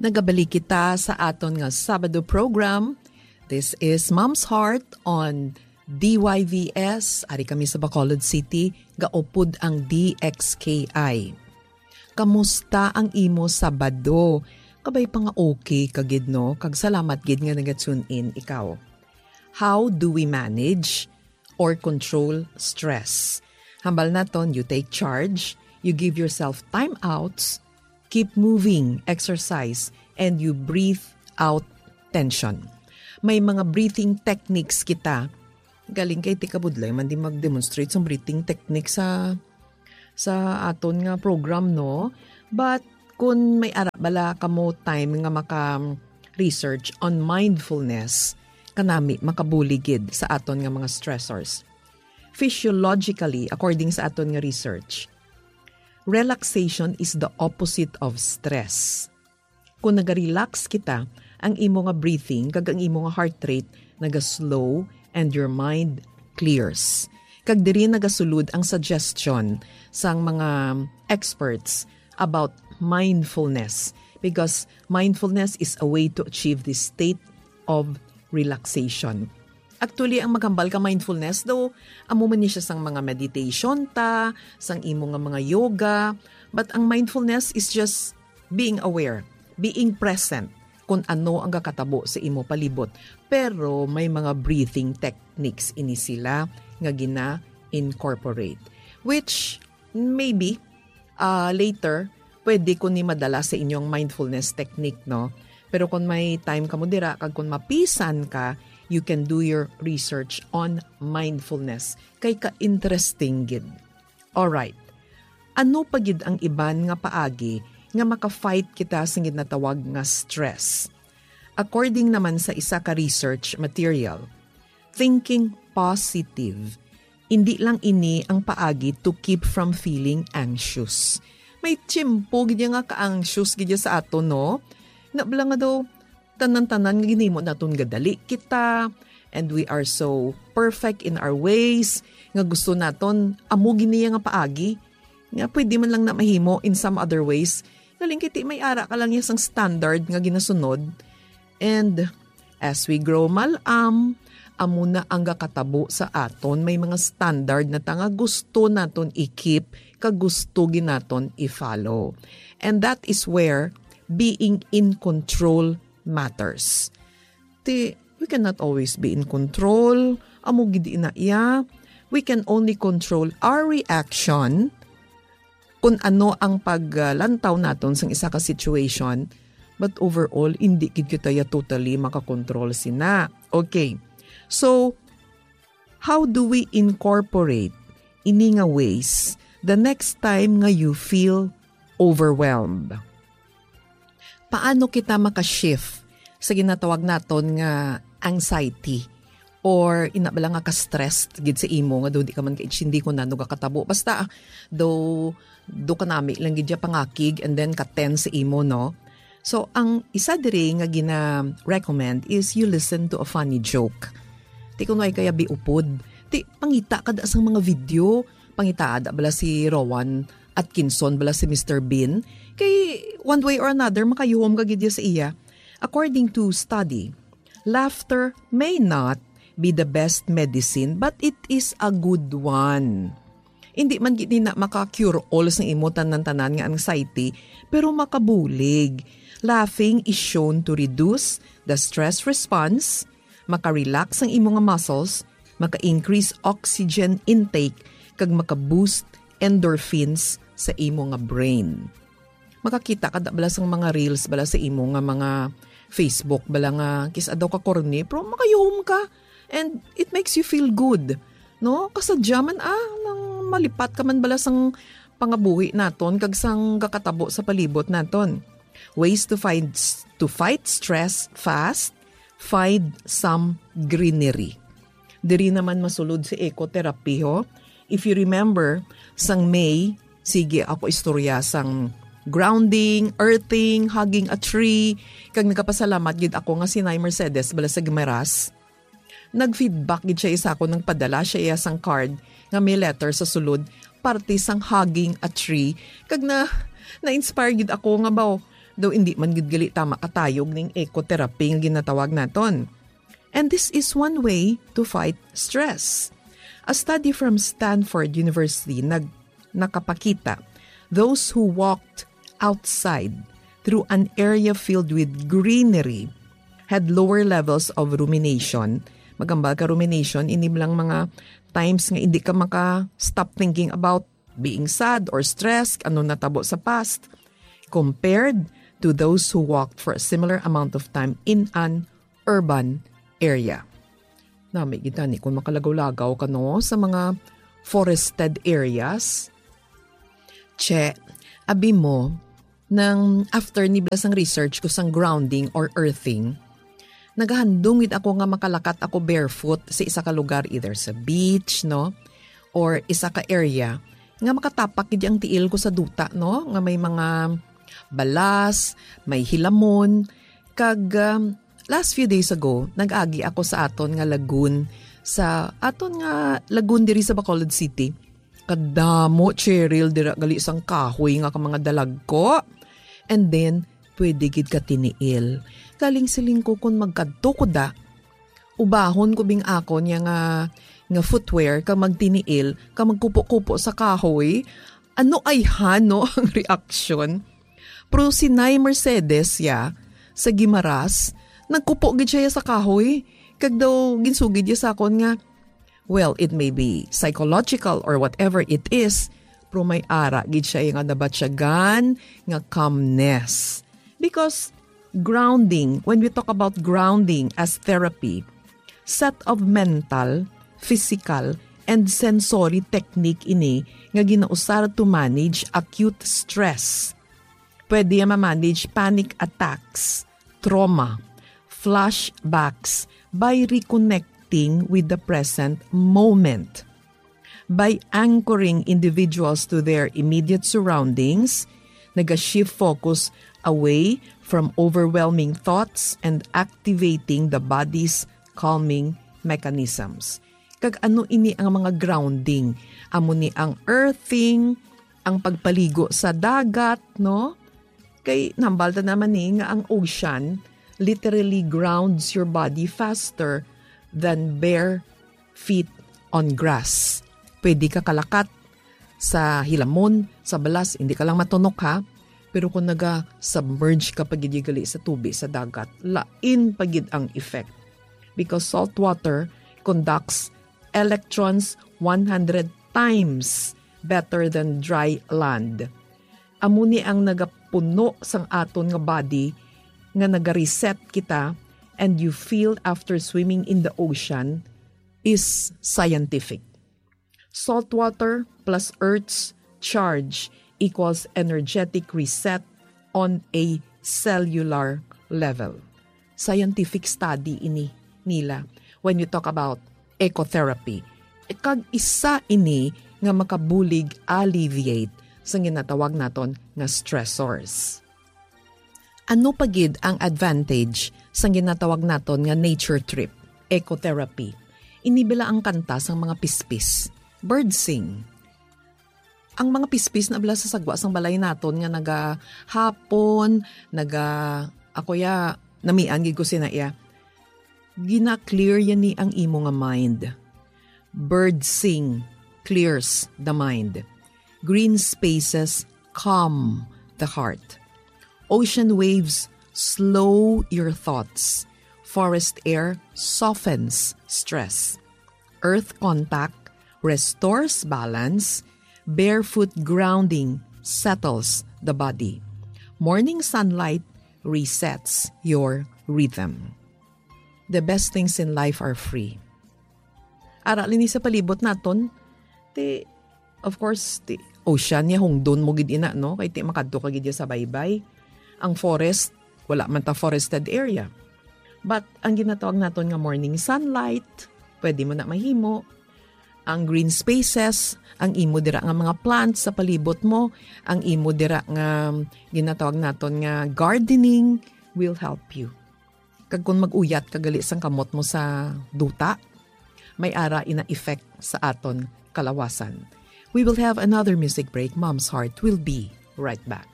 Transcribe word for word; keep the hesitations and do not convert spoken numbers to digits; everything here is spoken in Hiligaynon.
Nagabalik kita sa aton nga Sabado program. This is Mom's Heart on D Y V S. Ari kami sa Bacolod City, gaupod ang D X K I. Kamusta ang imo Sabado? Kabay pa nga okay ka gid, no? Kag salamat gid nga naga-tune in ikaw. How do we manage or control stress? Hambal naton, you take charge, you give yourself timeouts, keep moving, exercise, and you breathe out tension. May mga breathing techniques kita. Galing kay ti kabudlay man di mag-demonstrate sang breathing technique sa, sa aton nga program, no? But kun may ara bala kamo time nga maka-research on mindfulness, kanami makabulig gid sa aton nga mga stressors. Physiologically, according sa aton nga research, relaxation is the opposite of stress. Kung naga-relax kita, ang imo nga breathing kag ang imo nga heart rate naga-slow and your mind clears. Kag diri nagasulod ang suggestion sang mga experts about mindfulness, because mindfulness is a way to achieve this state of relaxation. Actually, ang maghambal ka mindfulness, though, amo man ni siya sang mga meditation ta, sang imo nga mga yoga, but ang mindfulness is just being aware, being present kung ano ang gakatabo sa imo palibot. Pero may mga breathing techniques ini sila nga gina-incorporate, which maybe, ah, later, pwede ko ni madala sa inyong mindfulness technique, no? Pero kung may time kamo dira, kag kung mapisan ka, you can do your research on mindfulness. Kay ka-interesting gid. Alright. Ano pa gid ang iban nga paagi nga maka-fight kita sa ginatawag nga stress? According naman sa isa ka research material, thinking positive, indi lang ini ang paagi to keep from feeling anxious. May tiyempo gid ya nga ka-anxious gid ya sa aton, no? Nabla nga daw, tanan-tanan nga ginimo naton gadali kita, and we are so perfect in our ways, nga gusto naton, amo gini ya nga paagi, nga pwede man lang na mahimo in some other ways. Galing kiti may ara ka lang ya sang standard nga ginasunod. And as we grow mal-am, amo na ang gakatabo sa aton. May mga standard na ta nga gusto naton i-keep, kag gusto gid naton i-follow. And that is where being in control matters. Ti, we cannot always be in control. Amo gid ina iya. We can only control our reaction kung ano ang paglantaw naton sang isa ka situation, but overall, indi gid kita ya totally makakontrol sina. Okay. So, how do we incorporate ini nga ways the next time nga you feel overwhelmed? Paano kita maka-shift sa ginatawag naton nga anxiety? Or ina bala nga ka-stressed gid sa imo nga daw di ka man kaintindi kung ano gakatabo. Basta, ah, daw, daw kanami lang gid ya pangakig and then ka-tense sa imo, no? So, ang isa diri nga gina-recommend is you listen to a funny joke. Ti kun way kaya biupod, ti pangita ka da sang mga video, pangita da bala si Rowan Atkinson bala si Mister Bean, kay one way or another, makayuhom ka gid ya sa iya. According to study, laughter may not be the best medicine, but it is a good one. Hindi man gid na maka-cure all sang imo tanan-tanan nga anxiety, pero makabulig. Laughing is shown to reduce the stress response, maka-relax ang imo nga muscles, maka-increase oxygen intake, kag maka-boost endorphins sa imo nga brain. Makakita ka da bala sang mga reels bala sa imo nga mga Facebook bala nga kis-a daw ka corny, pero makayuhom ka. And it makes you feel good. No? Kasadya man, ah, nang malipat ka man bala sang pangabuhi naton kag sang gakatabo sa palibot naton. Ways to find s-, to fight stress fast, find some greenery. Diri naman masulod si ecotherapy, ho. If you remember, sang May, sige ako istorya sang grounding, earthing, hugging a tree, kag nagapasalamat gid ako nga si Nay Mercedes bala sa Guimaras, nag-feedback gid siya isa ko, nagpadala siya iya sang card nga may letter sa sulod, parte sang hugging a tree. Kag na, na-inspire gid ako nga, baw, Daw hindi man gid gali tama katayog ning ecotherapy nga ginatawag naton. And this is one way to fight stress. A study from Stanford University nag-, nakapakita, those who walked outside through an area filled with greenery had lower levels of rumination. Magambal ka rumination, ini lang mga times nga hindi ka maka-stop thinking about being sad or stressed, ano natabo sa past, compared to those who walked for a similar amount of time in an urban area. Nami gid tani kung makalagaw-lagaw ka, no, sa mga forested areas. Che, abi mo, nang after ni bala sang research ko sang grounding or earthing, nagahandom gid ako nga makalakat ako barefoot sa isa ka lugar, either sa beach, no, or isa ka area nga makatapak gid ang tiil ko sa duta, no, nga may mga balas, may hilamon. Kag, um, last few days ago, nag-agi ako sa aton nga lagoon, sa aton nga lagoon diri sa Bacolod City. Kadamo, Cheryl, dira gali sang kahoy nga ka mga dalagko. And then, pwede gid ka tiniil. Galing siling ko, kung magkadto ko da, ubahon ko bing akon niya nga, nga footwear, ka magtiniil, ka magkupo-kupo sa kahoy. Ano ay hano ang reaksyon? Pero si Nay Mercedes ya, sa Guimaras, nagkupo gid siya sa kahoy. Kag daw, ginsugid niya sa akon nga, well, it may be psychological or whatever it is, pero may ara gid siya nga nabatyagan nga calmness. Because grounding, when we talk about grounding as therapy, set of mental, physical, and sensory technique ini nga ginausar to manage acute stress. Pwede ya ma-manage panic attacks, trauma, flashbacks by reconnecting with the present moment. By anchoring individuals to their immediate surroundings, naga-shift focus away from overwhelming thoughts and activating the body's calming mechanisms. Kag ano ini ang mga grounding? Amo ni ang earthing, ang pagpaligo sa dagat, no? Kay nambal ta naman ni nga ang ocean literally grounds your body faster than bare feet on grass. Pwede ka kalakat sa hilamon, sa balas, hindi ka lang matunok, ha? Pero kung naga-submerge ka pa gid gali sa tubi, sa dagat, lain pa gid ang effect. Because salt water conducts electrons one hundred times better than dry land. Amo ni ang nagapuno sang aton nga body nga naga-reset kita, and you feel after swimming in the ocean is scientific. Salt water plus Earth's charge equals energetic reset on a cellular level. Scientific study ini nila when you talk about ecotherapy. Kag isa ini nga makabulig alleviate sa ginatawag naton nga stressors. Ano pa gid ang advantage sang ginatawag naton nga nature trip, ecotherapy? Ini bala ang kanta sang mga pispis, bird sing. Ang mga pispis na bala sa sagwa sang balay naton nga nagahapon, naga-, ako ya, namian gid ko sina iya. Gina-clear yan ni ang imo nga mind. Bird sing clears the mind. Green spaces calm the heart. Ocean waves slow your thoughts. Forest air softens stress. Earth contact restores balance. Barefoot grounding settles the body. Morning sunlight resets your rhythm. The best things in life are free. Ara lini sa palibot naton, ti, of course, ti, ocean ya, hungdon mo gid ina, no? Kay ti makadto ka gid ya sa baybay. Ang forest, wala man ta forested area. But ang ginatawag naton nga morning sunlight, pwede mo na mahimo. Ang green spaces, ang imo dira nga mga plants sa palibot mo, ang imo dira nga ginatawag naton nga gardening will help you. Kag kung mag-uyat ka gali sang kamot mo sa duta, may ara ina effect sa aton kalawasan. We will have another music break. Mom's Heart will be right back.